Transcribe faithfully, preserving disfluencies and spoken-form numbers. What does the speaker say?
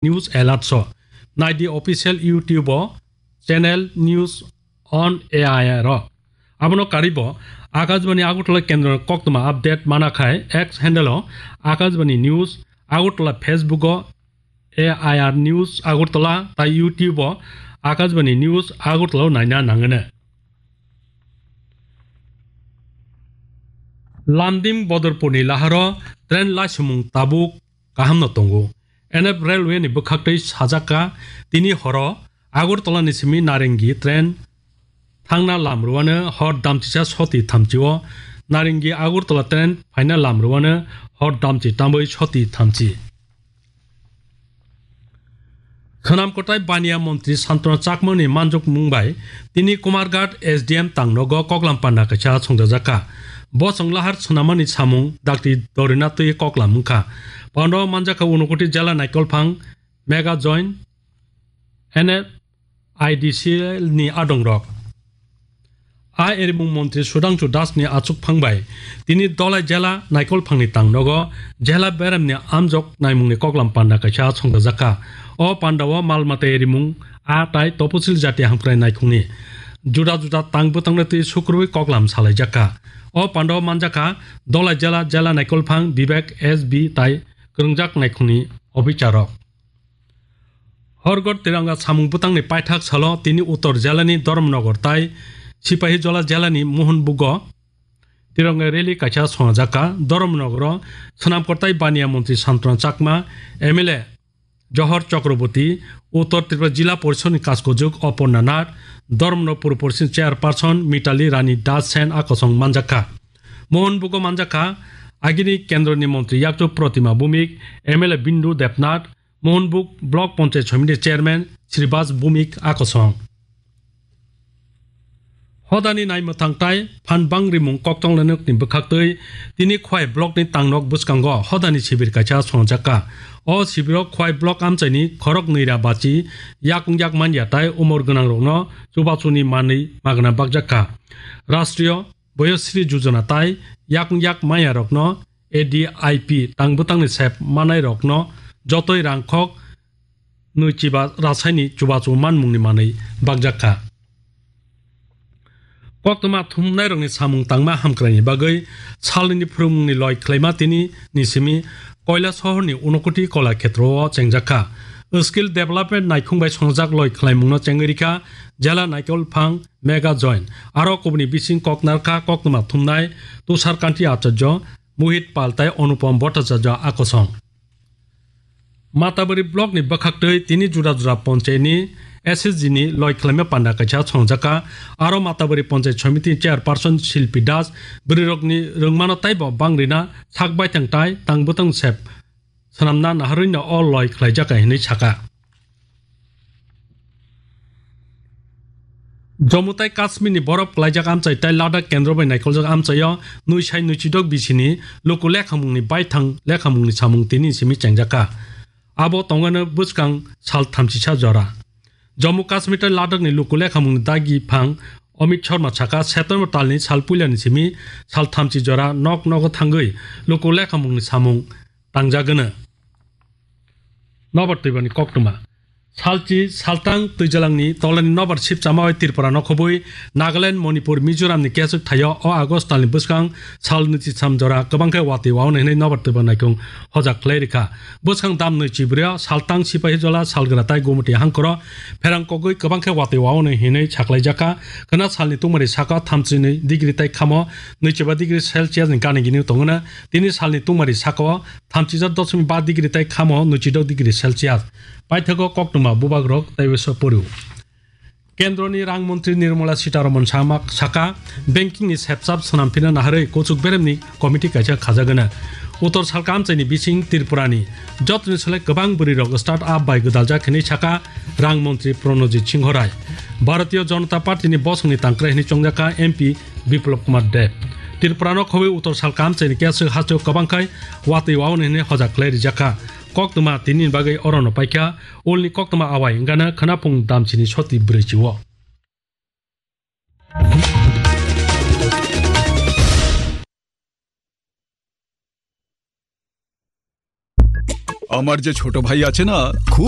News Alert so. Naidi official YouTube o channel News on A I R o. Abono karibo Akashbani Agartala kendro koktwma update mana khai X handle o Akashbani News Agartala, Facebook o A I R News Agartala tai YouTube o Akashbani News Agartala o naina nangene. Lamdim Bodorpurni laharo train laisumung tabuk kahamno tongo. N F Railway ni bwkhaktwi sajak kha, tini horo Agartala ni simi Narengi train thangna lam rwano hor damchisa soti thamchi o, Narengi Agartala train phaina lam rwano hor damchi tambwi soti thamchi. Khwnam kwtai baniya montri Santana Chakmani manjokmung bai tini Kumarghat S D M tangnogo koklam panda kaisa songjajakha. Bosong lahar swnamani samung dakti dorina twi koklam wngkha. Pando manjakha Unakoti jela naikolphang Mega Join N F I D C L ni adongrok. A erimung montri Sudhangshu Das ni achukphang bai tini Dolai jela naikolphangni tangnogo jela beremni amjok naimungni koklam panda kaisa songjajakha. O pandao mal mata erimung a tai toposil jati hamkrai naikhungni juda juda tang bwtangno twi sukrubwi koklam salaijakha. O pandao manjakha Dolai jela, jela naikolphang Vivek S B tai kwrwngjak naikhungni officerrok. Horgot Tiranga samung bwtangni paithak salo tini Uttor jelani Dharmanagar tai Sipahijola jelani Mohanbugo Tiranga rally kaisa songjakkha. Dharmanagaro swnam kwtai baniya montri Santana Chakma, M L A Johor Chakraborty, Uttor Tripura Jila Porishadni kaskojwk Aparna Nath, Dharmanagar Pur Porishadni chairperson Mitali Rani Das Sen a kosong manjakkha. Mohanbugo manjakkha agini kendroni montri yakchu Protima Bhumik, M L A Bindu Debnath, Mohanbug Block Panchayat Samiti Chairman Sribas Bhumik a kosong. Hodani naimwthang tai phan bangrimung koktwng lanokni bwkhaktwi tini Khwai Blockni tangnok bwskango hodani sibir kaisa songjakha. O sibiro Khwai Block amchaini khorok nwi ra bachi yakung yak manya tai umor gwnangrokno chubachuni manwi magna bakjakha. Rashtriya Boyosri Jojona tai yakung yak manyarokno A D I P tang bwtangni sep manairokno jotoi rangkhok nwi chiba rasaini chubachu manmungni manwi bakjakha. Koktwma thumnairokni samung tangma hamkraini bagwi salnwini phwrwngmungni loi khlaima tini ni simi Koilasohorni Unakoti Kola Khetrao chengjakha. Skill development naikhung bai songjak loi khlaimungno chengwi rikha jela naikolphang Mega Join. Aro kubuni bising kok narkha koktwma thumnai Tushar Kanti Acharya, Mohit Pal tai Anupam Bhattacharya a kosong. Matabari Blockni bwkhaktwi tini juda juda ponchayatni S S G ni loi khlaima panda kaisa songjakha. Aro Matabari Ponchayat Samiti Chairperson Shilpi Das bwrwirokni rwngmano taibo bangrina sak baithang tai tang bwtang sep swnamna naharwino o loi khlaijakha hinwi sakha. Jammu tai Kashmirni borop klaijak amchai tai Ladakh kendro bai naikoljak amchaio nwi sai nwi chidok bisini luku lekhamungni baithang lekhamungni samung tini simi chengjakha. Abo tongano bwskang sal thamchisa jora. Jammu Kashmir tai Ladakhni luku lekhamungni dagi phang Amit Sharma sakha, September talni sal puilani simi sal thamchi jora nok nogo thangwi luku lekhamungni samung tangjagwno. Nobar twibani koktwma. Salchi, saltang twijalangni tolani nobar sipchama bai Tripura no khobwi Nagaland, Manipur, Mizoramni keswk thaio o August talni bwskang sal nwi chi sam jora kwbang khe watwi waunai hwnwi nobar twiba naikung hojak khlai rikha. Bwskang dam nwi chibrio saltang Sipahijola, Salgra tai Gumoti hangkoro pherang kogwi kwbang khe watwi waunai hwnwi saklaijakha. Khwna salni tungmari saka thamchi nwi degree tai khamo nwi chiba degree Celsius ni gana gini tongwna. Tini salni tungmari sakao thamchijak dosmik ba degree tai khamo nwichidok degree Celsius. Paithago koktwma bubagrok taibo so poriw. Kendroni rang montri Nirmala Sitharaman sama saka, banking ni sepsap swnamphina naharwi kuchuk beremni committee kaisa khajagwna. Uttor salka amchaini bising Tripurani jotoni sole kwbang bwrwirok start up bai gwdaljak hinwi saka rang montri Pranojit Singho Rai. Bharatiya Janata Party ni bosongni tangkrai hinwi chongjaka M P Biplab Kumar Deb. Tripura no khobwi Uttor salka amchaini keswk hasteo kwbang khai watwi waunai hinwi hojak khlai rijakha. Koktwma tini ni bagwi orono paikha, ulni koktwma awai wngkha na khwnaphung damchini soti brwichi o. আমার যে ছোট ভাই আছে না, খুব